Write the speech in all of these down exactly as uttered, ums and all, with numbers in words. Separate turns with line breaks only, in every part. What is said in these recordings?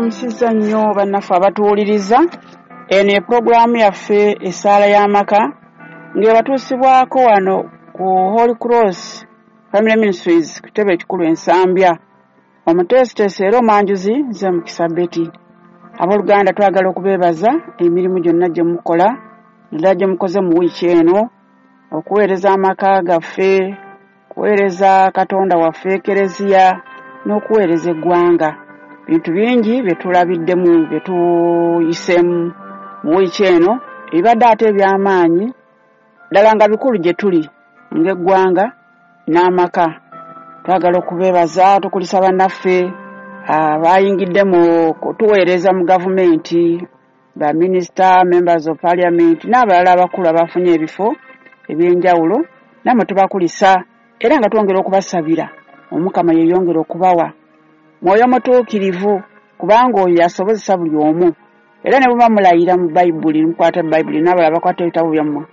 Musizza nnyo bannaffe abatuwuliriza. Eno epulogulaamu yaffe Essaala y'Amaka ng'ebatuusibwako wano ku Holy Cross Family Ministries ku kitebe ekikulu e Nsambya. Omuteesiteesi era omwanjuzi nze Mukisa Betty. Abooluganda, twagala okubeebaza emirimu gyonna gye mukola, naddala gye mukoze mu wiiki eno okuweereza amaka gaffe, okuweereza Katonda waffe Ekereziya n'okuweereza eggwanga. Bintu bingi bye tulabiddemu, bye tuyiseemu mu wiiki eno, ebibadde ate eby'amaanyi ddala nga bikulu gye tuli ng'eggwanga n'amaka. Twagala okubeebaza, tukulisa bannaffe abayingidde mu kutuweereza mu gavumenti, baminisita, members of parliament n'abalala abakulu abafunye ebifo ebyenjawulo. Nammwe tubakulisa era nga twongera okubasabira Omukama yeeyongere okubawa Mwoyo Mutuukirivu, kubanga oyo yasobozesa buli omu. Era ne bwe mulayira mu Bayibuli, mukwata Bayibuli n'abalala bakwata ebitabo byammwe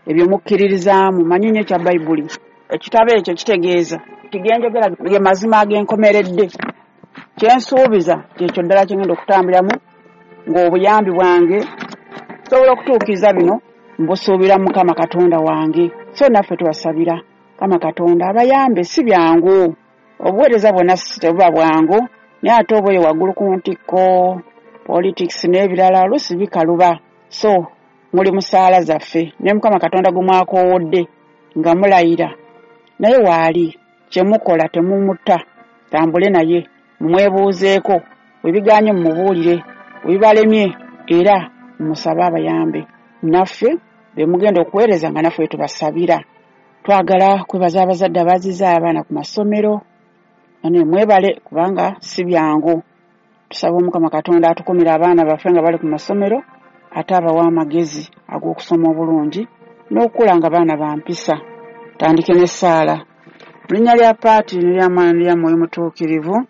ebyo mukkiririzaamu, manyi nnyo ekya Bayibuli. Ekitabo ekyo kitegeeza nti ge njogera ge mazima ag'enkomeredde. Kye nsuubiza kyekyo ddala kye ngenda okutambuliramu ng'obuyambi bwange nsobola okutuukiriza bino mbusuubira Mukama Katonda wange. So naffe tubasabira Mukama Katonda abayambe. Si byangu, obuweereza bwonna tebuba bwangu, naye ate oba oyo waggulu ku ntikko, politics n'ebirala oluusi bikaluba. So muli musaala zaffe ne Mukama Katonda gwe mwakoowodde nga mulayira naye waali, kye mukola temumutta, tambule naye mumwebuuzeeko, bwe bigaanye mumubuulire, bwe bibalemye era mumusabe abayambe. Naffe be mugenda okuweereza nga naffe tubasabira. Twagala kwebaza abazadde abazizza abaana ku masomero, ane mwebale kubanga si byangu. Tusaba Omukama Katonda atukumire abaana baffe nga bali ku masomero, ate abawe amagezi ag'okusoma obulungi n'okukula nga baana ba mpisa. Tandike n'essaala. Mu linnya lya Paati n'erya Mwana n'erya Mwoyo Mutuukirivu,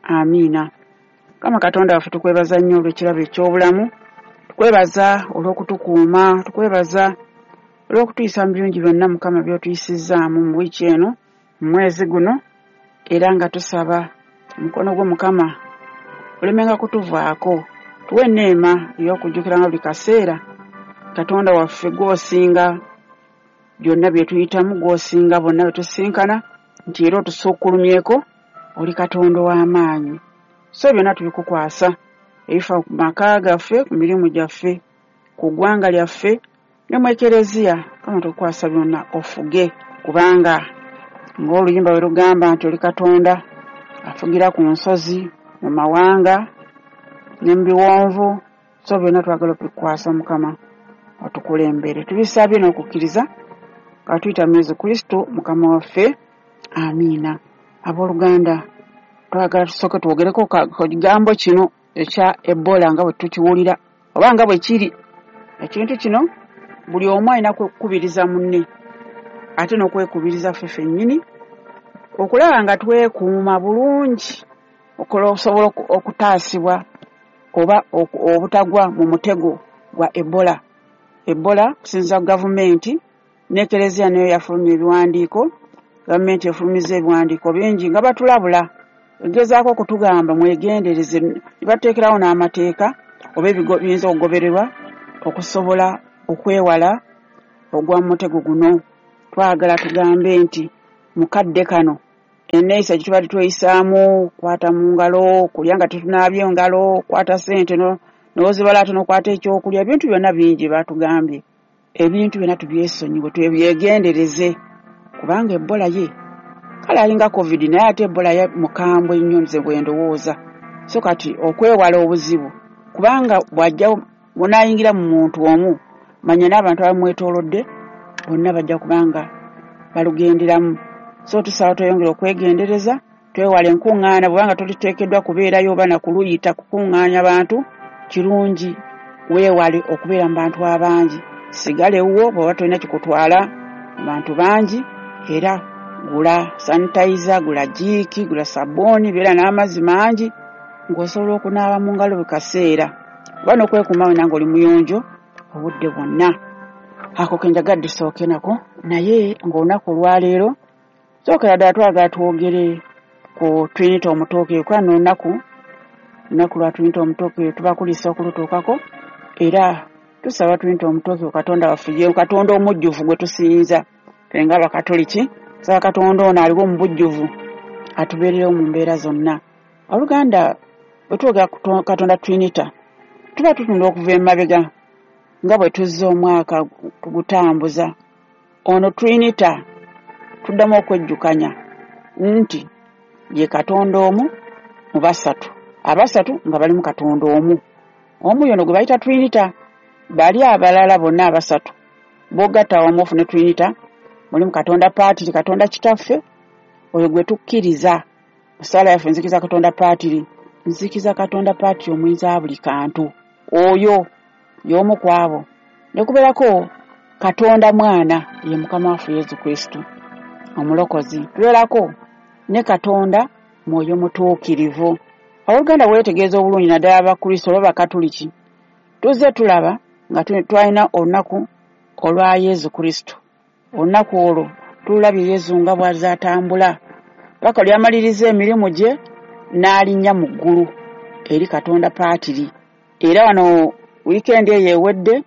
amiina. Mukama Katonda waffe, tukwebaza nnyo olw'ekirabo eky'obulamu, tukwebaza olw'okutukuuma, tukwebaza olw'okutuyisa mu birungi byonna Mukama by'otuyisizzaamu mu wiiki eno, mu mwezi guno, era nga tusaba omukono gwo Mukama olemenga kutuvaako. Tuwe enneema ey'okujjukiranga buli kaseera Katonda waffe gw'osinga byonna bye tuyitamu, gw'osinga bonna bye tusinkana, nti era otusukkulumyeko, oli Katonda ow'amaanyi. So byonna tubikukwasa, ebifa ku maka gaffe, ku mirimu gyaffe, ku ggwanga lyaffe ne mu Ekereziya. Mukama tukukwasa byonna ofuge, kubanga ng'oluyimba bwe lugamba nti oli Katonda afugira ku nsozi, mu mawanga ne mu biwonvu. So byonna twagala okubikukwasa Mukama otukulembere. Tubisabye n'okukkiriza nga tuyita mu Yesu Kristo Mukama waffe, amiina. Abooluganda, twagala tusooke twogereko ku kigambo kino ekya Ebola nga bwe tukiwulira oba nga bwe kiri. Ekintu kino buli omu alina kukubiriza munne ate n'okwekubiriza ffe ffennyini okulaba nga twekuuma bulungi okusobola okutaasibwa oba obutagwa mu mutego gwa Ebola. Ebola kusinziira ku gavumenti n'Ekereziya nayo yafulumya ebiwandiiko. Gavumenti efulumizza ebiwandiiko bingi nga batulabula, egezaako okutugamba mwegendereze, ne batuteekerawo n'amateeka oba ebiyinza okugobererwa okusobola okwewala ogwa mu mutego guno. Twagala tugambe nti mu kadde kano enneeyisa gye tubadde tweyisaamu, kukwata mu ngalo, kulya nga tetunaabye ngalo, kukwata ssente n'ozibala ate n'okwata ekyokulya, ebintu byonna bingi baatugambye. Ebintu byonna tubyesonyiwe, twebyegendereze, kubanga Ebola ye kale alinga COVID, naye ate Ebola ye mukambwe nnyo nze bwe ndowooza. So kati okwewala obuzibu, kubanga bw'ajja munaayingira mu muntu omu, manya n'abantu abamwetoolodde bonna bajja kubanga balugenderamu. So tusaba tweyongere okwegendereza, twewale enkuŋŋaana, bw'obanga toliteekeddwa kubeerayo oba na kuluyita kukuŋŋaanya bantu, kirungi weewale okubeera mu bantu abangi. Sigala ewuwo bw'oba tolina kikutwala mu bantu bangi, era gula sanitizer, gula jiiki, gula sabbuuni, beera n'amazzi mangi ng'osobola okunaaba mu ngalo buli kaseera, oba n'okwekuuma wena ng'oli muyonjo obudde bwonna. Ako ke njagadde tusooke nako, naye ng'olunaku olwaleero sookera ddala twagala twogere ku Trinity Omutuukirivu, kubanga olunaku Lunaku lwa Trinity Omutuukirivu, tubakulisa okulutuukako era tusaba Trinity Omutuukirivu Katonda waffe, ye Katonda omujjuvu gwe tusinza ffe ng'Abakatoliki. Tusaba Katonda ono aliwo mu bujjuvu atubeererewo mu mbeera zonna. Oluganda, bwe twogera ku Katonda Trinity tuba tutunda okuva emabega nga bwe tuzze omwaka tugutambuza. Ono Trinity tuddamu okwejjukanya nti ye Katonda omu mu basatu, abasatu nga bali mu Katonda omu. Omu yono gwe bayita Trinity, bali abalala bonna abasatu b'ogatta awamu ofune Trinity, mulimu Katonda Paatiri, Katonda Kitaffe, oyo gwe tukkiriza. Mu ssaala yaffe nzikiza Katonda Paatiri, nzikiza Katonda Paatiri omuyinza wa buli kantu, oyo y'omu ku abo. Ne kubeerako Katonda Mwana, ye Mukama waffe Yesu Kristo Omulokozi. Tubeerako ne Katonda Mwoyo Mutuukirivu. Abooluganda, weetegereza obulungi naddala Abakristo oba Abakatoliki, tuzze tulaba nga twalina olunaku olwa Yesu Kristo. Olunaku olwo tulabye Yesu nga bw'azze atambula paka lyamaliriza emirimu gye n'alinnya mu ggulu eri Katonda Paatiri. Era wano wiikendi eyo ewedde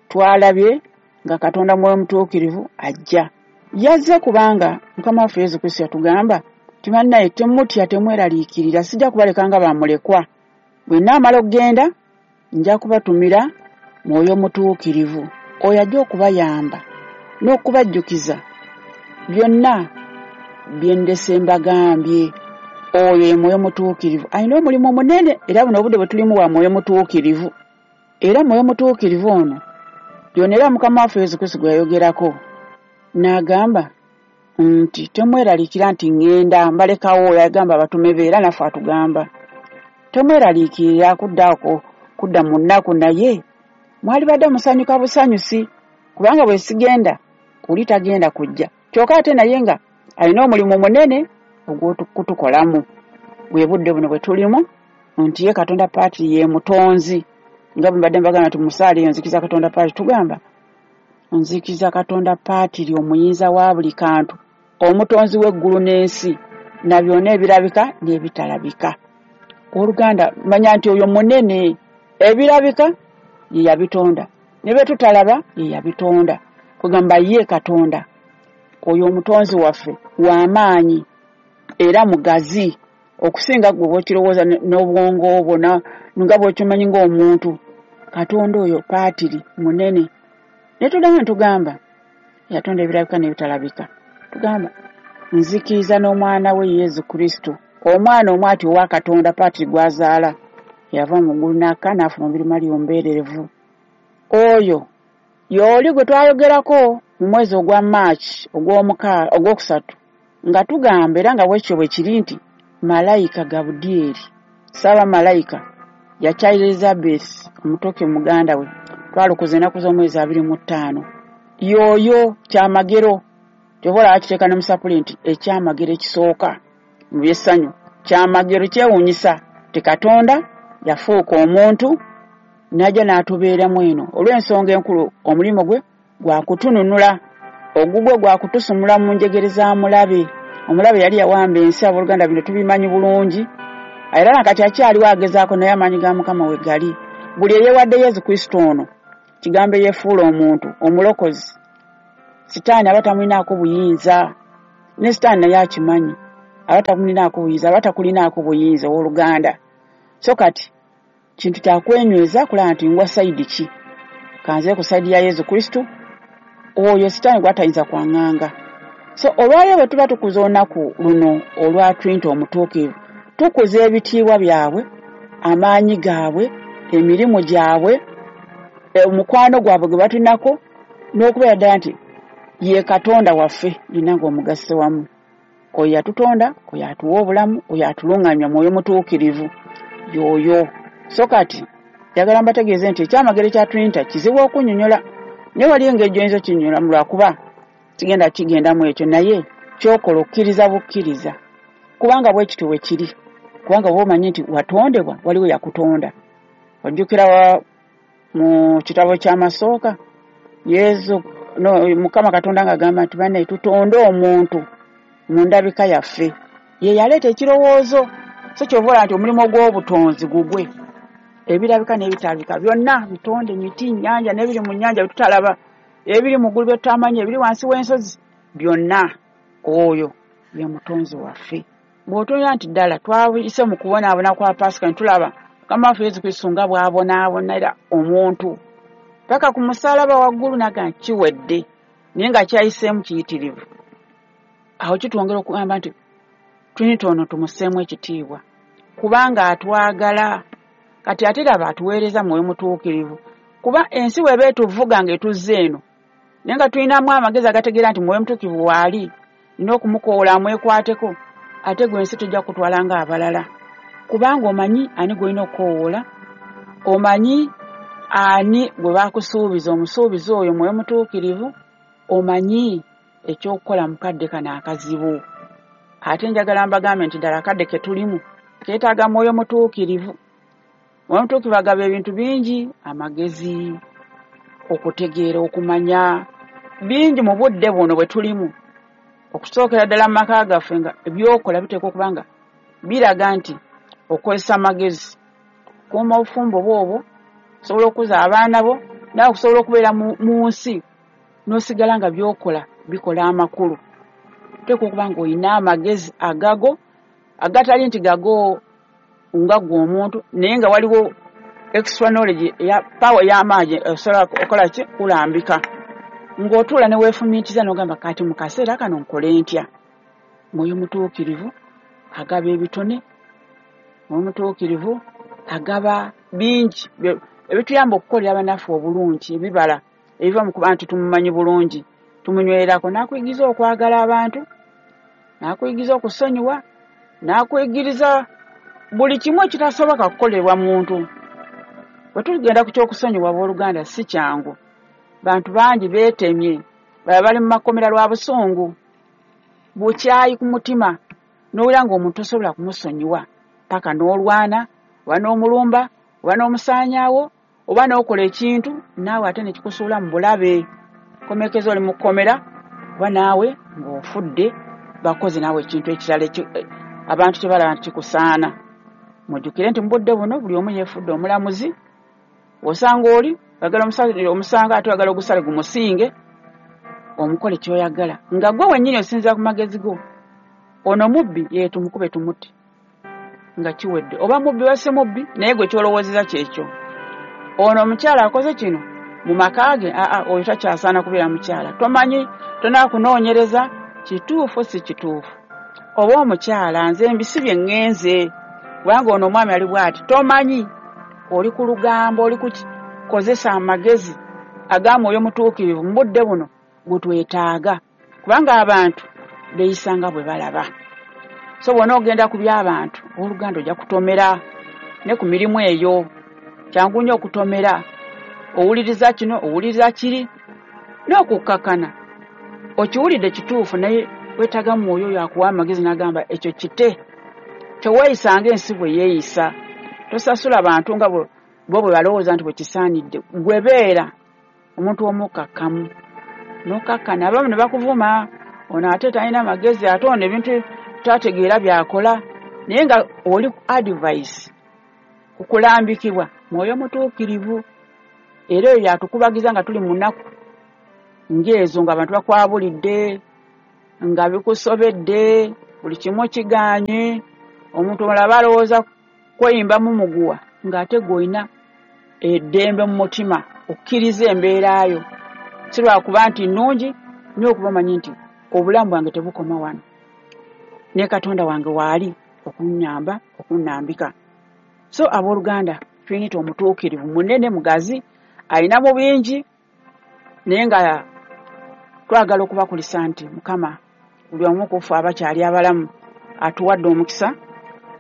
twalabye nga Katonda Mwoyo Mutuukirivu ajja. Yazze kubanga Mukama waffe Yesu Kristo yatugamba nti bannaye temutya, temweraliikirira, sijja kubaleka nga bamulekwa. Bwe nnaamala okugenda nja kubatumira Mwoyo Mutuukirivu, oyo ajja okubayamba n'okubajjukiza byonna bye ndese mbagambye. Oyo ye Mwoyo Mutuukirivu, alina omulimu munene, era buno obudde bwe tulimu bwa Mwoyo Mutuukirivu. Era Mwoyo Mutuukirivu ono yonna era Mukama waffe Yesu Kristo gwe yayogerako n'agamba nti temweraliikira nti ŋŋenda mbalekawo. Yagamba abatume be era naffe atugamba temweraliikirira kuddaako kudda mu nnaku, naye mwalibadde musanyuka busanyusi kubanga bwe sigenda oli tagenda kujja. Kyokka ate naye nga alina omulimu munene ogw'okutukolamu. Bwe budde buno bwe tulimu nti ye Katonda Paatiri ye mutonzi, nga bwe mbadde mbagamba nti mu ssaala eyo nzikiza Katonda Paatiri, tugamba nzikiza Katonda Paatiri omuyinza wa buli kantu, omutonzi w'eggulu n'ensi na byonna ebirabika n'ebitalabika. Oluganda, manya nti oyo munene, ebirabika ye yabitonda ne bye tutalaba ye yabitonda. Kugamba ye Katonda oyo omutonzi waffe w'amaanyi era mugazi okusinga gwe bw'okirowooza n'obwongo obwo nga bw'okimanyi ng'omuntu. Katonda oyo Paatiri munene. Ne tuddamu ne tugamba yatonda ebirabika n'ebitalabika. Tugamba nzikiriza n'omwana we Yesu Kristo, omwana omu ati owa Katonda Paatiri gw'azaala, yava mu ggulu n'akka n'afuna omubiri Mariya omubeererevu. Oyo y'oli gwe twayogerako mu mwezi ogwa March ogwokusatu nga tugamba, era nga bwekyo bwe kiri nti malayika Gabudyeri, ssaabamalayika, yakyalira Elizabeth omutoke muganda we, twalukuza ennaku z'omwezi abiri mu ttaano. Y'oyo kyamagero, ky'oba olaba kiteeka ne mu sapuli nti ekyamagero ekisooka mu by'essanyu, kyamagero kyewuunyisa nti Katonda yafuuka omuntu n'ajja n'atubeeramu eno olw'ensonga enkulu, omulimu gwe gwa kutununula, ogugwe gwa kutusumula mu njegere za mulabe. Omulabe yali yawamba ensi, abooluganda bino tubimanyi bulungi, era nakati akyaliwo agezaako, naye amaanyi ga Mukama we gali. Buli eyeewadde Yesu Kristo ono, kigambo eyeefuula omuntu omulokozi, Sitaani aba tamulinaako buyinza, ne Sitaani naye akimanyi, aba tamulinaako buyinza, aba takulinaako buyinza owooluganda. So kati kintu kyakwenyweza kulaba nti ngwa sayidi ki, kanze ku sayidi ya Yesu Kristo, oyo Sitaani gw'atayinza kwaŋŋanga. So olwaleero bwe tuba tukuza olunaku luno olwa Trinity Omutuukirivu, tukuza ebitiibwa byabwe, amaanyi gaabwe, emirimu gyabwe, omukwano gwabwe gwe batulinako, n'okubeera ddala nti ye Katonda waffe nina ng'omugasse wamu. Oyo yatutonda, oyo atuwa obulamu, oyo atuluŋŋamya Mwoyo Mutuukirivu y'oyo. So kati njagala mbategeeze nti ekyamagero kya Trinity kizibu okunnyonnyola, naye waliyo engeri gy'oyinza okinnyonnyolamu lwakuba kigenda kigendamu ekyo, naye ky'okola okkiriza bukkiriza, kubanga bwe kityo bwe kiri, kubanga bw'oba omanyi nti watondebwa, waliwo yakutonda. Ojjukira mu kitabo ky'Amasooka, Yesu no, Mukama Katonda ng'agamba nti bannaye tutonde omuntu mu ndabika yaffe. Ye yaleeta ekirowoozo So kyova olaba nti omulimu gw'obutonzi gugwe, ebirabika n'ebitalabika byonna, bitonde, miti, nnyanja n'ebiri mu nnyanja byetutalaba, ebiri mu ggulu byetutamanyi, ebiri wansi w'ensozi byonna, oyo ye mutonzi waffe. Bw'otunuulira nti ddala twayise mu kubonaabona kwa Paasika ne tulaba Mukama waffe Yesu Kristo nga bw'abonaabonera omuntu paka ku musaalaba waggulu n'agamba nti kiwedde, naye nga kyayiseemu kiyitirivu. Awo kitwongera okugamba nti Trinity ono tumusseemu ekitiibwa kubanga atwagala. Kati ate laba atuweereza Mwoyo Mutuukirivu, kuba ensi bw'eba etuvuga ng'etuzza eno, naye nga tulinamu amagezi agategeera nti Mwoyo Mutuukirivu waali, nina okumukoola amwekwateko, ate gwe ensi tejja kutwala ng'abalala, kubanga omanyi ani gw'olina okukoowoola, omanyi ani gwe baakusuubiza, omusuubiza oyo Mwoyo Mutuukirivu, omanyi ekyokukola mu kadde kano akazibu. Ate njagala mbagambe nti ddala akadde ke tulimu keetaaga Mwoyo Mutuukirivu. Mwoyo Mutuukirivu agaba ebintu bingi, amagezi, okutegeera, okumanya bingi mu budde buno bwe tulimu. Okusookera ddala mu maka gaffe nga ebyokola biteekwa okuba nga biraga nti okozesa amagezi, kuuma obufumbo bw'obwo, osobola okukuza abaana bo, naawe okusobola okubeera mu nsi n'osigala nga by'okola bikola amakulu. Oteekwa okuba ng'olina amagezi agago, agatali nti gago nga ggwe omuntu, naye nga waliwo extra knowledge eya power ey'amaanyi osobola okukola ki? Kulambika. Ng'otuula ne weefumiitiriza n'ogamba kati mu kaseera kano nkole ntya? Mwoyo Mutuukirivu agaba ebitone, Mwoyo Mutuukirivu agaba bingi ebituyamba okukolera bannaffe obulungi, ebibala ebiva mu kuba nti tumumanyi bulungi, tumunywererako. N'akuyigiriza okwagala abantu, n'akuyigiriza okusonyiwa, n'akuyigiriza buli kimu ekitasoboka kukolebwa muntu. Bwe tugenda ku ky'okusonyiwa, abooluganda, si kyangu. Bantu bangi beetemye, baba bali mu makomera lwa busungu, bukyayi ku mutima, n'owulira ng'omuntu tosobola kumusonyiwa paka n'olwana, oba n'omulumba, oba n'omusaanyaawo, oba n'okola ekintu naawe ate ne kikusuula mu bulabe. Komekeza oli mu kkomera, oba naawe ng'ofudde, bakoze naawe ekintu ekirala abantu kye balaba nti kikusaana. Mujjukire nti mu budde buno buli omu yeefudde omulamuzi. Osanga oli oyagala omusango ate oyagala ogusale gumusinge, omukole ky'oyagala nga gwe wennyini osinziira ku magezi go. Ono mubbi, ye tumukube tumutte nga kiwedde, oba mubbi oba si mubbi, naye gwe ky'olowoozeza kyekyo. Ono omukyala akoze kino mu maka ge, aa oyo takyasaana kubeera mukyala. Tomanyi, tonaakunoonyereza kituufu si kituufu. Oba omukyala nze mbisibye ŋŋenze kubanga ono omwami ali bw'ati, tomanyi, oli ku lugambo, oli kukozesa amagezi aga Mwoyo Mutuukirivu mu budde buno gwe twetaaga, kubanga abantu beeyisa nga bwe balaba. So bw'onoogenda ku by'abantu, owooluganda ojja kutomera ne ku mirimu eyo. Kyangu nnyo okutomera, owuliriza kino, owuliriza kiri, n'okukkakkana. Okiwulidde kituufu, naye weetaaga Mwoyo oyo akuwa amagezi n'agamba ekyo kite. Teweeyisa ng'ensi bwe yeeyisa, tosasula bantu nga bo bwe balowooza nti bwe kisaanidde. Gwe beera omuntu omukkakkamu, n'okkakkana. Abamu ne bakuvuma, ono ate talina magezi, ate ono ebintu tategeera by'akola, naye nga oli ku advice, ku kulambikibwa Mwoyo Mutuukirivu. Era oyo y'atukubagiza nga tuli mu nnaku ng'ezo, ng'abantu bakwabulidde, nga bikusobedde, buli kimu kigaanye, omuntu omulala aba alowooza kweyimbamu muguwa, ng'ate gwe olina eddembe mu mutima okkiriza embeera yo. Si lwakuba nti nnungi, naye okuba omanyi nti obulamu bwange tebukoma wano, ne Katonda wange waali okunnyamba, okunnambika. So abooluganda, Trinity omutuukirivu munene, mugazi, alinamu bingi, naye nga twagala okubakulisa nti Mukama buli omu ku ffe abakyali abalamu atuwadde omukisa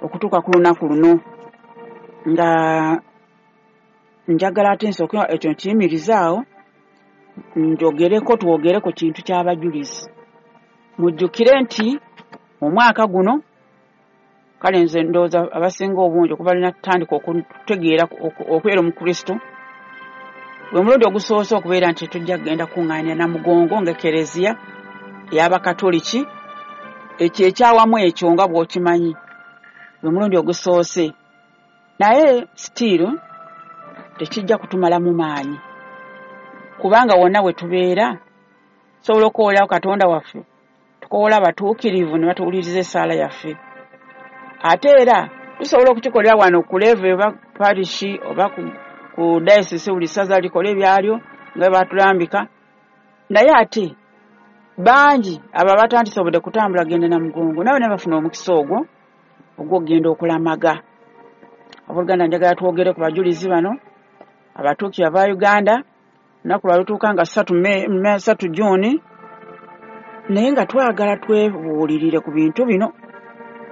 okutuuka ku lunaku luno. Nga njagala ate nsooke ekyo nkiyimirizaawo, njogereko, twogere ku kintu ky'abajulizi. Mujjukire nti omwaka guno, kale nze ndowooza abasinga obungi okuva lwe natandika okutegeera okubeera Omukristo, gwe mulundi ogusoose okubeera nti tujja kugenda kuŋŋaanira Namugongo ng'Ekereziya ey'Abakatoliki, ekyo ekyawamu ekyo nga bw'okimanyi. Gwe mulundi ogusoose, naye still tekijja kutumalamu maanyi, kubanga wonna we tubeera tusobola okukoowolawo Katonda waffe, tukoowola abatuukirivu ne batuwuliriza essaala yaffe. Ate era tusobola okukikolera wano ku level oba parish oba ku, ku diocese, buli ssaza likole ebyalyo nga bwe batulambika. Naye ate bangi abo abatandisobodde kutambula genda na mugongo, nabo ne bafuna omukisa ogwo ogw'okugenda okulamaga. Abooluganda, njagala twogere ku bajulizi bano abatuukirivu aba Uganda. Olunaku lwa lutuuka nga ssatu May, ssatu June, naye nga twagala twebuulirire ku bintu bino,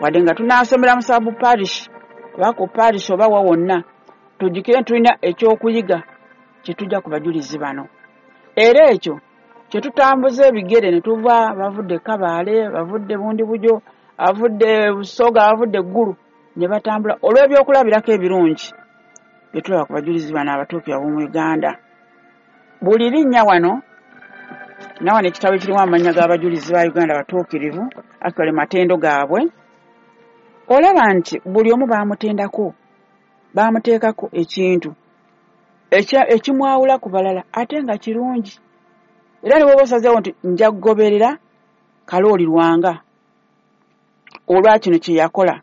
wadde nga tunaasomera mu sub parish oba ku parish oba wa wonna, tujjukire tulina ekyokuyiga kye tujja ku bajulizi bano. Era ekyo kye tutambuza ebigere ne tuva, bavudde Kabaale, bavudde Bundibugyo, bavudde Busoga, bavudde Ggulu, ne batambula olw'ebyokulabirako ebirungi bye tulaba ku bajulizi bano abatuukirivu ab'omu Uganda. Buli linnya wano, na wano ekitabo ekirimu amannya g'abajulizi ba Uganda abatuukirivu, actually matendo gaabwe, olaba nti buli omu baamutendako, baamuteekako ekintu ekimwawula ku balala ate nga kirungi. Era ne bw'oba osazeewo nti nja kugoberera Kalooli Lwanga olwa kino kye yakola,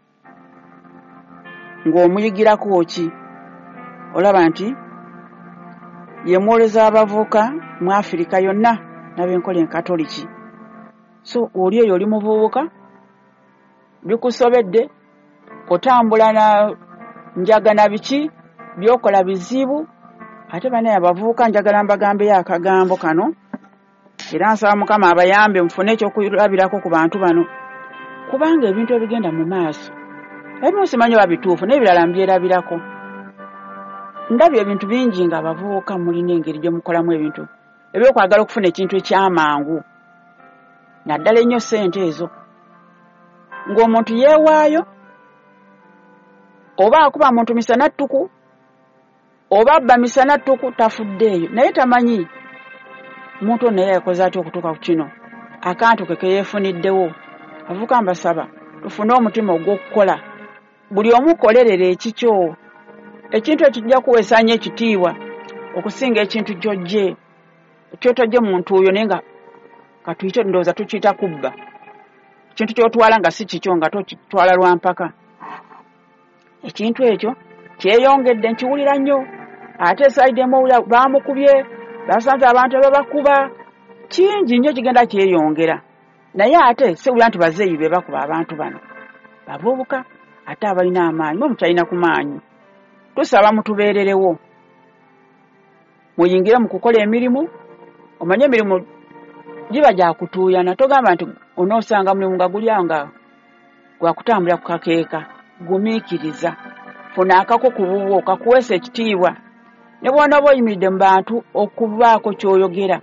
ng'omuyigirako ki? Olaba nti ye mwoleza abavubuka mu Afirika yonna n'ab'enkola enkatoliki. So oli eyo oli muvubuka, bikusobedde, otambula na njaga na biki, by'okola bizibu. Ate bannaye abavubuka njagala mbagambeyo akagambo kano, era nsaba Mukama abayambe mufune ekyokulabirako ku bantu bano, kubanga ebintu ebigenda mu maaso ebimu simanyi oba bituufu, n'ebirala mbyerabirako. Ndabye ebintu bingi nga abavubuka mulina engeri gye mukolamu ebintu ebyokwagala okufuna ekintu ekyamangu, naddala ennyo ssente ezo, ng'omuntu yeewaayo oba akuba muntu misana ttuku oba abba misana ttuku, tafuddeeyo, naye tamanyi muntu ono naye yakoze atya okutuuka ku kino, akantu ke ke yeefuniddewo. Abavubuka mbasaba tufune omutima ogw'okukola, buli omu kolerera ekikyo, ekintu ekijja kuweesa nnyo ekitiibwa okusinga ekintu ky'oggye ky'otojje mu ntuuyo, naye nga katuyite, ndowooza tukiyita kubba, ekintu ky'otwala nga si kikyo, nga tokitwala lwa mpaka. Ekintu ekyo kyeyongedde, nkiwulira nnyo. Ate esayidi emu owulira baamukubye, basanze abantu ababakuba, kingi nnyo kigenda kyeyongera. Naye ate siwulira nti bazeeyi be bakuba abantu bano, bavubuka ate abalina amaanyi, mwe mukyalina ku maanyi. Tusaba mutubeererewo, muyingire mu kukola emirimu. Omanye emirimu giba gya kutuuyana, togamba nti onoosanga mulimu nga guli awo nga gwakutambulira ku kakeeka. Gumiikiriza, funa akako ku bubwo kakuweesa ekitiibwa, ne bw'onooba oyimiridde mu bantu okubaako ky'oyogera,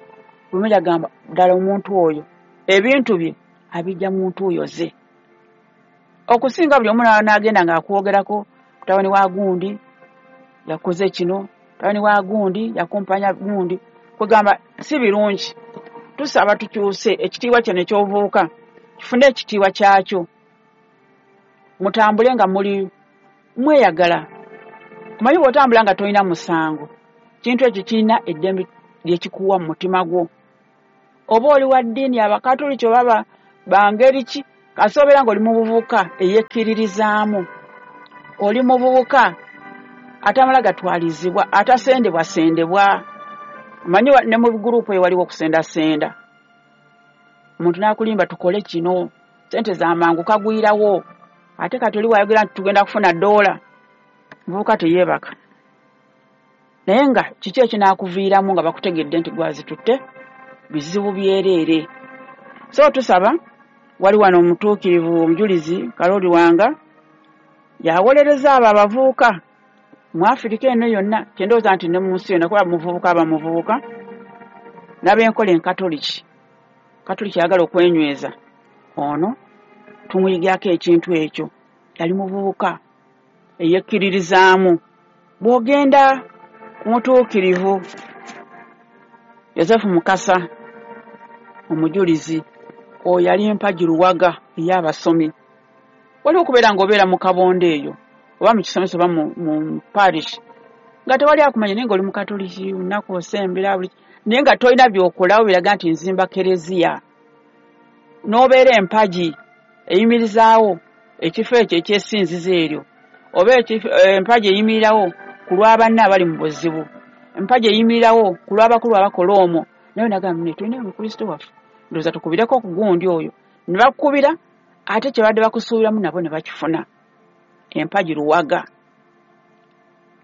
buli agamba ddala omuntu oyo ebintu bye abijja mu ntuuyo ze, okusinga buli omu n'agenda ng'akwogerako, mutabani wa gundi yakoze kino, mutabani wa gundi yakumpanya gundi, kwegamba si birungi. Tusaba tukyuse ekitiibwa kino eky'obuvubuka, kifune ekitiibwa kyakyo, mutambule nga muli mweyagala. Omanyi bw'otambula nga tolina musango, kintu ekyo kirina eddembe lyekikuwa mu mutima gwo. Oba oli wa ddiini Abakatoliki oba bangeri ki, kasita obeera ng'oli muvubuka eyekkiririzaamu, oli muvubuka atamala gatwalizibwa, atasendebwasendebwa. Omanyi ne mu gurupu eyo waliwo okusendasenda, omuntu n'akulimba tukole kino, ssente z'amangu kagwirawo, ate kati oli wayogera nti tugenda kufuna ddoola, muvubuka teyeebaka. Naye nga kiki ekinaakuviiramu nga bakutegedde nti gwazitutte? Bizibu byereere. So tusaba, wali wano omutuukirivu omujulizi Kalooli Lwanga yawolereza abo abavubuka mu Afirika eno yonna, kyendowooza nti ne mu nsi yonna, kuba muvubuka aba muvubuka n'ab'enkola enkatoliki, katoliki ayagala okwenyweza, ono tumuyigirako ekintu ekyo. Yali muvubuka eyekkiririzaamu. Bw'ogenda ku mutuukirivu Yosefu Mukasa omujulizi, oyo yali mpagi luwaga ey'abasomi, Waliwo okubeera ng'obeera mu kabondo eyo oba mu kisomesa oba mu parish nga tewali akumanya, naye ng'oli mukatoliki, lunaku osembera buli, naye nga tolina by'okolawo biraga nti nzimba kereziya. N'obeera empagi eyimirizaawo ekifo ekyo ekyesinzizo eryo, oba empagi eyimirirawo ku lw'abanne abali mu buzibu, empagi eyimirirawo ku lw'abakulu abakola omwo. Naye nagamba ne tulina Omukristo waffe, ndowooza tukubireko ku gundi oyo. Ne bakukubira, ate kye badde bakusuubiramu nabo ne bakifuna. Empagi luwaga.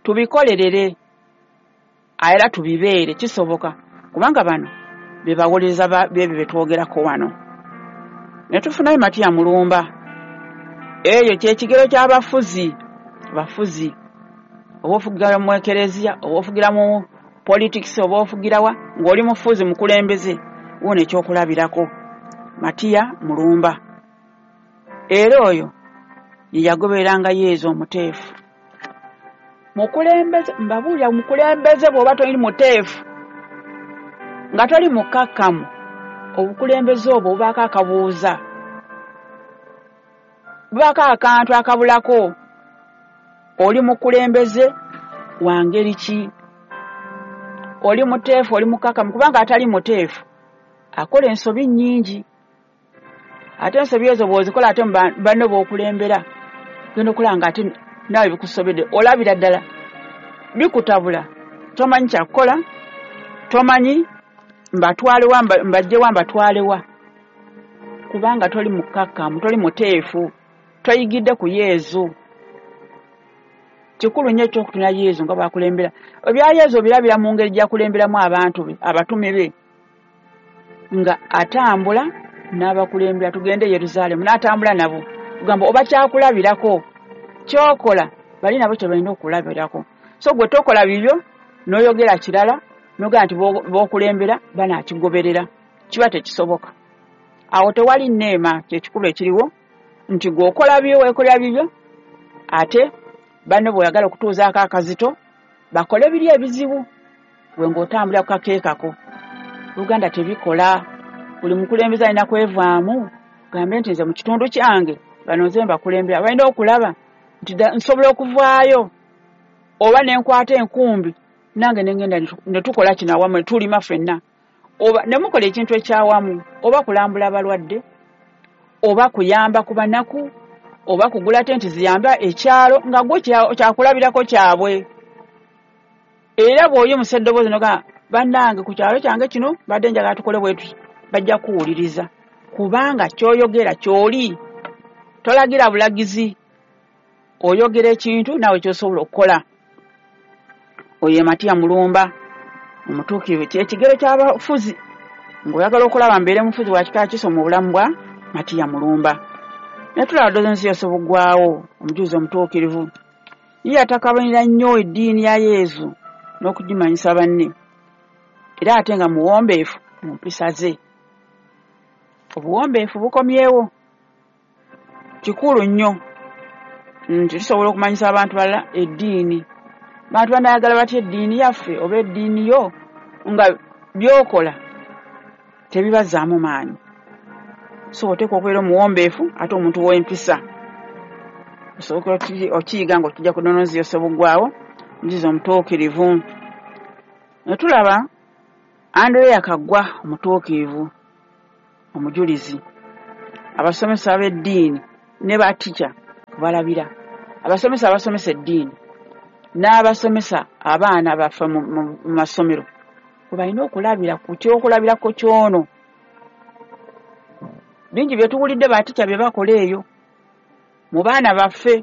Tubikolerere era tubibeere, kisoboka, kubanga bano be bawolereza b'ebyo bye twogerako wano. Ne tufunayo Matiya Mulumba. Eyo ky'ekigero ky'abafuzi, bafuzi oba ofugira mu ekereziya, oba ofugira mu politics, oba ofugira wa, ng'oli mufuzi mukulembeze, wuuno ekyokulabirako Matiya Mulumba. Era oyo ye yagobereranga Yezu omuteefu. Mukulembeze, mbabuulira, mukulembeze bw'oba toli muteefu, nga toli mukkakkamu, obukulembeze obwo bubaako akabuuza, bubaako akantu akabulako. Oli mukulembeze wa ngeri ki? Oli muteefu, oli mukkakkamu? Kubanga atali muteefu akola ensobi nnyingi, ate ensobi ezo bw'ozikola ate banno b'okulembera genda okulaba nga ate naawe bikusobedde, olabira ddala bikutabula, tomanyi kyakukola, tomanyi mbatwalewa, mbajjewa, mbatwalewa, kubanga toli mukkakkamu, toli muteefu, toyigidde ku Yezu. Kikulu nnyo ekyokutunula Yezu nga bw'akulembera. Ebya Yezu obirabira mu ngeri gy'akulemberamu abantu be, abatume be, nga atambula n'abakulembera. Tugende e Yerusaalemu, n'atambula nabo. Kugamba oba kyakulabirako ky'okola, bali nabo kye balina okulabirako. So gwe tokola bibyo n'oyogera kirala, n'ogamba nti b'okulembera banaakigoberera, kiba tekisoboka. Awo tewali nneema. Kyekikulu ekiriwo nti gw'okola bibyo, weekolera bibyo, ate banno bw'oyagala okutuuzaako akazito bakole biri ebizibu, gwe ng'otambulira ku kakeekako. Uganda tebikola. Buli mukulembeze alina kwevaamu, gambe nti nze mu kitundu kyange bano nze mbakulembera. Balina okulaba nti nsobola okuvaayo oba ne nkwata enkumbi nange ne ngenda ne tukola kino awamu, ne tulima ffenna, oba ne mukola ekintu ekyawamu, oba kulambula abalwadde, oba kuyamba ku banaku, oba kugula tenti ziyamba ekyalo, nga gwe kyakulabirako kyabwe. Era bw'oyimusa eddoboozi n'ogamba bannange ku kyalo kyange kino badde njagala tukole bwe tuti, bajja kuwuliriza, kubanga ky'oyogera ky'oli. Tolagira bulagizi, oyogera ekintu naawe ky'osobola okukola. Oyo ye Matiya Mulumba omutuukirivu. Kyekigero ky'abafuzi. Ng'oyagala okulaba mbeere mufuzi wa kika kiso mu bulamu bwa Matiya Mulumba. Ne tulaba Dozonsi Buggwawo, omujulizi omutuukirivu. Ye yatakabanira nnyo eddiini ya Yezu n'okugimanyisa banne, era ate nga muwombeefu mu mpisa ze. Obuwombeefu bukomyewo, kikulu nnyo nti tusobola okumanyisa abantu balala eddiini. Bantu banayagala batya eddiini yaffe oba eddiini yo nga by'okola tebibazzaamu maanyi? So oteekwa okubeera omuwombeefu ate omuntu w'empisa. Osobola okiyiga ng'okijja ku Dozonsi Buggwawo, omujulizi omutuukirivu. Ne tulaba Andereya Kaggwa omutuukirivu, omujulizi. Abasomesa b'eddiini ne batica kubalabira, abasomesa abasomesa eddiini n'abasomesa abaana baffe mu masomero kwe balina okulabira ku kyokulabirako ky'ono. Bingi bye tuwulidde batica bye bakola eyo mu baana baffe,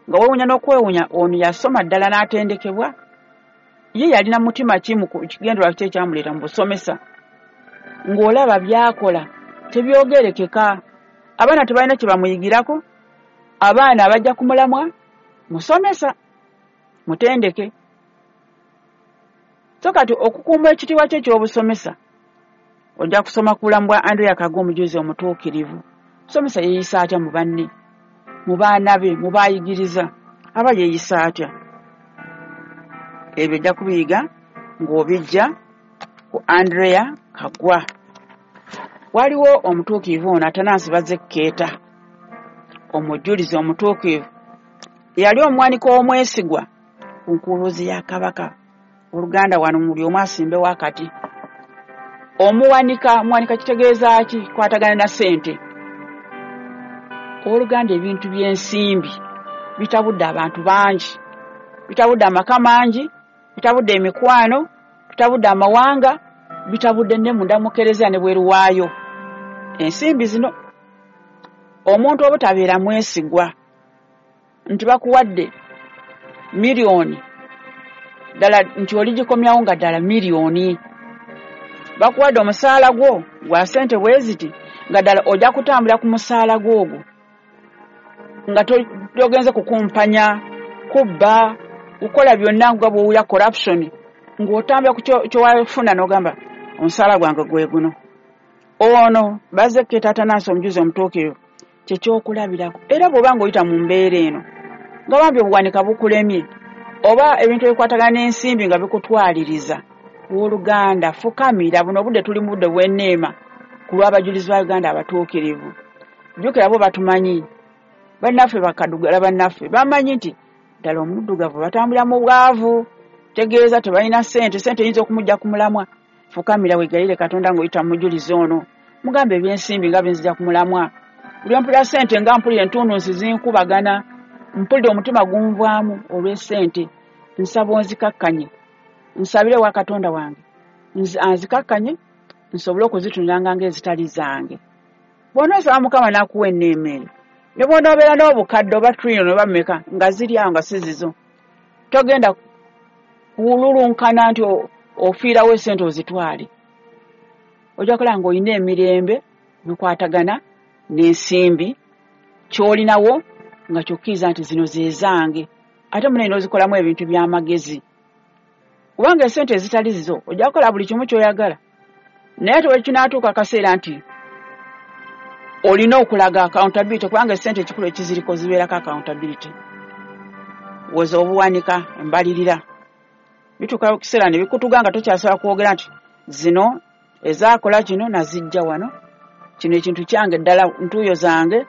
nga weewuunya n'okwewuunya ono yasoma ddala n'atendekebwa. Ye yalina mutima ki mu kigendererwa ki ekyamuleeta mu busomesa? Ng'olaba by'akola tebyogerekeka. Abaana tebalina kye bamuyigirako, abaana abajja kumulamwa musomesa mutendeke. So kati okukuuma ekitiibwa kye eky'obusomesa, ojja kusoma ku bulamu bwa Andereya Kaggwa omujulizi omutuukirivu. Musomesa yeeyisa atya mu banne, mu baana be, mu baayigiriza, aba yeeyisa atya? Ebyo ojja kubiyiga ng'obijja ku Andereya Kaggwa. Waliwo omutuukirivu ono Atanansi Bazekkeeta, omujulizi omutuukirivu, yali omuwanika omwesigwa ku nkuluzi ya kabaka. Oluganda wano muli omu asimbewo akati. Omuwanika, omuwanika kitegeeza ki? Kwatagana na ssente. Oluganda ebintu by'ensimbi bitabudde abantu bangi, bitabudde amaka mangi, bitabudde emikwano, bitabudde amawanga, bitabudde ne munda mu kereziya ne bweru waayo. Ensimbi zino omuntu obutabeera mwesigwa nti bakuwadde miliyoni ddala nti oligikomyawo nga ddala miliyoni, bakuwadde omusaala gwo gwa ssente bwe ziti nga ddala ojja kutambulira ku musaala gwo ogwo nga togenze kukumpanya, kubba, kukola byonna nga bw'owulira corruption, ng'otambula ku ky'owafuna n'ogamba omusaala gwange gwe guno. Ono Bazekkeeta Atanansi omujuzi omutuukirivu kye kyokulabirako. Era bw'oba ng'oyita mu mbeera eno nga bambi obuwanika bukulemye oba ebintu ebikwatagana n'ensimbi nga bikutwaliriza, owooluganda fukamira. Buno obudde tuli mu budde bw'enneema ku lw'abajulizi ba Uganda abatuukirivu. Jjukira bo batumanyi, bannaffe bakadugala bannaffe bamanyi nti ddala omuddugavu batambulira mu bwavu, tegeeza tebalina ssente, ssente eyinza okumujja ku mulamwa. Fukamira weegayirire Katonda ng'oyita mu mujulizi ono, mugambe ebyensimbi nga binzija ku mulamwa. Buli mpulira ssente nga mpulira entunnunsi zinkubagana, mpulira omutima gunvaamu olw'essente. Nsaba onzikakkanye, nsabire wa Katonda wange anzikakkanye nsobole okuzitunulanga ng'ezitali zange. Bw'onoosaba Mukama n'akuwa enneema eyo, ne bw'onoobeera n'obukadde oba trillion oba mmeka nga ziri awo nga si zizo, togenda kululunkana nti ofiirawo essente ozitwale. Ojja kulaba ng'olina emirembe bikwatagana n'ensimbi ky'olinawo nga ky'okkiriza nti zino ze zange, ate munene n'ozikolamu ebintu by'amagezi. Kubanga essente ezitali zizo ojja kukola buli kimu ky'oyagala, naye ate bwe kinaatuuka akaseera nti olina okulaga accountability, kubanga essente ekikulu ekiziriko zibeerako accountability. Woza obuwanika embalirira bituuka kiseera ne bikutuga nga tokyasobola kwogera nti zino ezaakola kino nazijja wano, kino ekintu kyange ddala ntuuyo zange,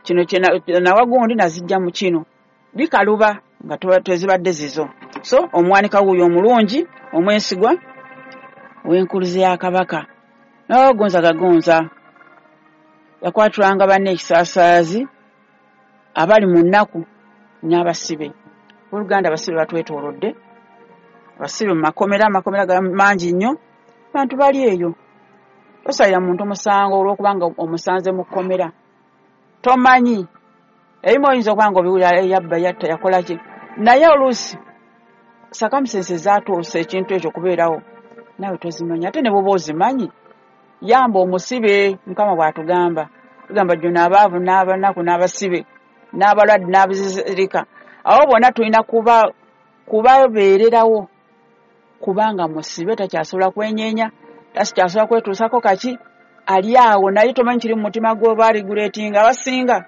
kino nawagundi nazijja mu kino. Bikaluba nga tezibadde zizo. So omuwanika wuuyo omulungi omwesigwa ow'enkuluze ya kabaka. N'abagonza gagonza yakwatulanga banne ekisaasaazi abali mu nnaku n'abasibe. Oluganda abasibe batwetoolodde, abasibe mu makomera, amakomera mangi nnyo, bantu bali eyo. Tosalira muntu musango olw'okubanga omusanze mu kkomera, tomanyi. Ebimu oyinza okuba nga obiwulira yabba, yatta, yakola ki, naye oluusi circumstances zaatuusa ekintu ekyo okubeerawo naawe tozimanyi. Ate ne bw'oba ozimanyi, yamba omusibe. Mukama bw'atugamba, tugamba jjo n'abaavu n'abanaku n'abasibe n'abalwadde n'abazirika, abo bonna tulina kuba kubabeererawo, kubanga musibe takyasobola kwenyeenya, takyasobola kwetuusako kaki, ali awo naye tomanyi kiri mu mutima gwe oba regulatinga. Abasinga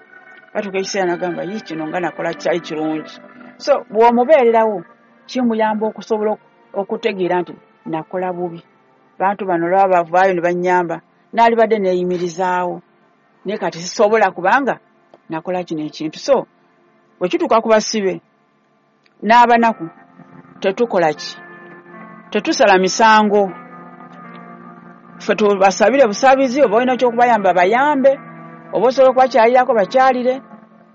batuuka ekiseera n'agamba yi kino nga nakola kyali kirungi. So bw'omubeererawo kimuyamba okusobola okutegeera nti nakola bubi, bantu bano olwaba bavaayo ne bannyamba, naalibadde neeyimirizaawo, naye kati sisobola kubanga nakola kino ekintu. So bwe kituuka ku basibe n'abanaku tetukola ki? Tetusala misango. Ffe tubasabire busabizi, oba olina ekyokubayamba bayambe, oba osobola okubakyalirako bakyalire,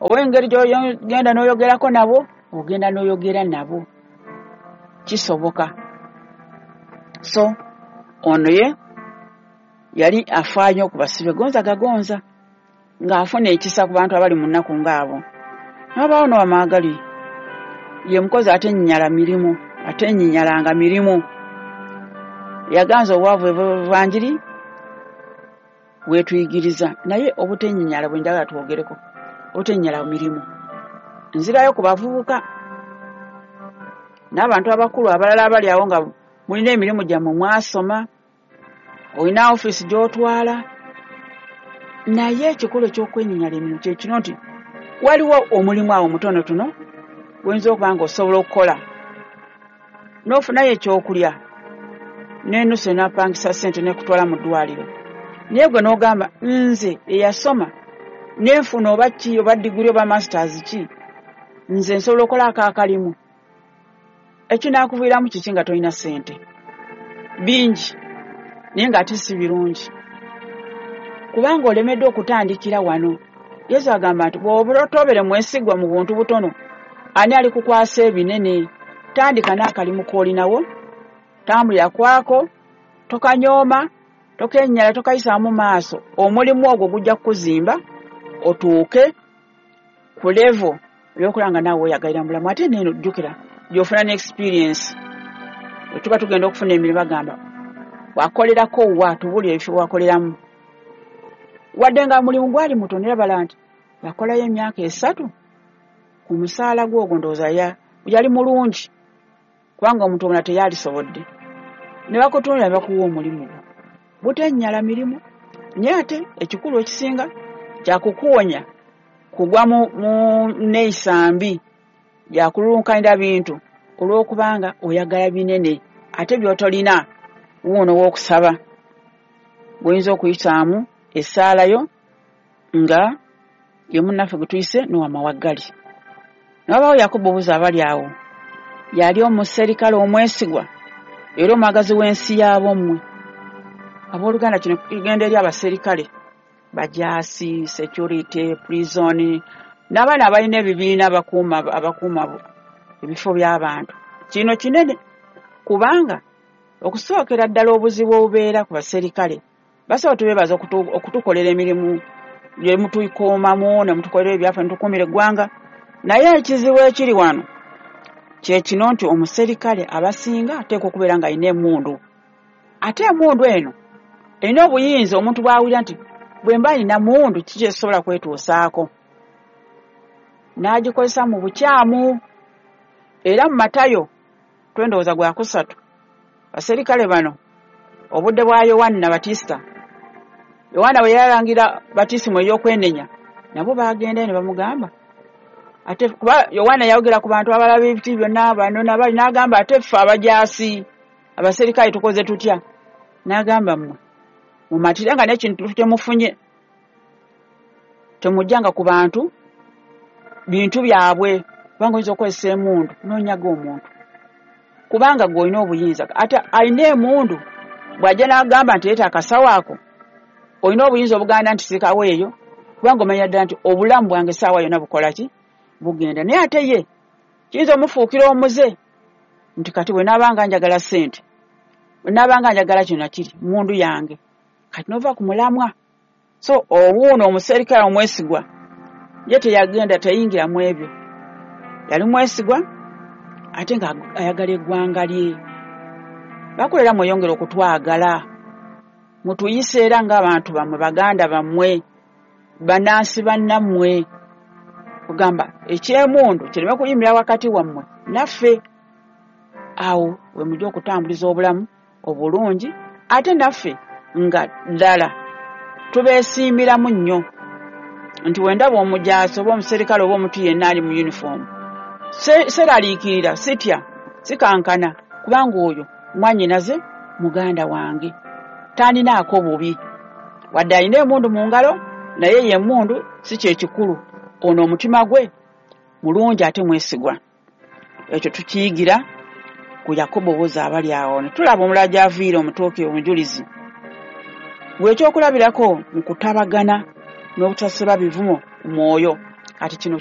oba engeri gy'ogenda n'oyogerako nabo ogenda n'oyogera nabo, kisoboka. So ono ye yali afaayo ku basibe gonza gagonza, ng'afuna ekisa ku bantu abali mu nnaku ng'abo. N'abaawo n'Owamaagali ye mukozi atenyinyala mirimu, atenyinyalanga mirimu. Yaganza obwavu evanjiri bwetuyigiriza, naye obutenyinyala bwe njagala twogereko, obutenyinyala mirimu. Nzirayo ku bavubuka n'abantu abakulu abalala abali awo nga mulina emirimu gyammwe, mwasoma, olina ofiisi gy'otwala, naye ekikulu eky'okwenyinyala emirimu kye kino nti waliwo omulimu awo mutonotono gwoyinza okuba ng'osobola okukola n'ofunayo ekyokulya n'enusu enaapangisa ssente n'ekutwala mu ddwaliro, naye gwe n'ogamba nze eyasoma Nenfuna oba ki oba diguli oba masters ki, nze nsobola okukola akakalimu. Ekinaakuviiramu kiki nga tolina ssente? Bingi, naye ng'ate si birungi, kubanga olemeddwa okutandikira wano. Yesu agamba nti bw'oba tobeere mwesigwa mu buntu butono, ani alikukwasa ebinene? Tandika n'akalimu k'olinawo, tambulira kwako, tokanyooma, tokennyala, tokayisaamu maaso. Omulimu ogwo gujja kukuzimba otuuke ku level ey'okulaba nga naawe weeyagalira mu bulamu. Ate neeno jjukira gy'ofuna ne experience. Bwe tuba tugenda okufuna emirimu bagamba wakolerako wa, tubuulire ebifo wakoleramu. Wadde nga mulimu gwali mutono, era bala nti yakolayo emyaka esatu ku musaala gwe ogwo, ndowooza yali mulungi, kubanga omuntu omulala teyalisobodde. Ne bakutunuulira ne bakuwa omulimu gwo. Butennyala mirimu, naye ate ekikulu ekisinga kyakukuwonya kugwa mu, mu neeyisa mbi yakululunkanira bintu olw'okubanga oyagala binene ate by'otolina. Wuuno w'okusaba gw'oyinza okuyisaamu essaala yo nga ye munnaffe gwe tuyise Nowa Mawaggali. Ne wabaawo Yakobo Buza abali awo, yali omuserikale omwesigwa era omwagazi w'ensi y'abommwe. Abooluganda, kino kigenda eri abaserikale, bajaasi, security, prison, n'abaana abalina ebibiina abakuuma abakuuma ebifo by'abantu. Kino kinene kubanga okusookera ddala obuzibu obubeera ku baserikale, basobola tubeebaza okutukolera emirimu gye mutukuumamu ne mutukolera ebyaffe ne tukuumira eggwanga. Naye ekizibu ekiri wano kye kino nti omuserikale abasinga ateekwa okubeera ng'alina emmundu, ate emmundu eno erina obuyinza. Omuntu bw'awulira nti bwe mba nina mmundu kiki ekisobola kwetuusaako, n'agikozesa mu bukyamu. Era mu Matayo twendowooza gwa kusatu, baserikale bano obudde bwa Yowanna Batista, Yowanna bwe yalangira batisimu ey'okwenenya, nabo baagendayo ne bamugamba ate kuba Yowanna yayogera ku bantu abalaba ebiti byonna bano nabali, n'agamba ate ffe abajaasi abaserikale tukoze tutya? N'agamba mmwe mumatire nga n'ekintu temufunye, temujjanga ku bantu bintu byabwe, kubanga oyinza okukozesa emmundu n'onyaga omuntu, kubanga gwe olina obuyinza. Ate alina emmundu bw'ajja n'agamba nti leeta akasawo ako, olina obuyinza obuganda nti sikaweeyo, kubanga omanya ddala nti obulamu bwange essaawa yonna bukola ki? Bugenda. Naye ate ye kiyinza omufuukira omuze nti kati bwe naabanga njagala ssente, bwe naabanga njagala kino nakiri, mmundu yange, kati n'ova ku mulamwa. So owuuno omuserikale omwesigwa ye teyagenda, teyingira mu ebyo, yali mwesigwa ate nga ayagala eggwanga lye. Bakolera mweyongere okutwagala, mutuyise era ng'abantu bammwe, baganda bammwe, bannansi bannammwe. Kugamba ekyemundu kireme kuyimirira wakati wammwe naffe. Awo we mujja okutambuliza obulamu obulungi, ate naffe nga ddala tubeesiimiramu nnyo nti bwe ndaba omujaasi oba omuserikale oba omuntu yenna ali mu yunifoomu, seraliikirira, sitya, sikankana, kubanga oyo mwannyinaze, muganda wange, tandinaako bubi. Wadde alina emmundu mu ngalo, naye ye emmundu si kye kikulu, ono omutima gwe mulungi ate mwesigwa. Ekyo tukiyigira ku Yakobo Buza abali awo. Ne tulaba omulala gy'aviira omutuukirivu omujulizi bw'ekyokulabirako mu kutabagana n'obutaseba bivumo ku mwoyo. Kati kino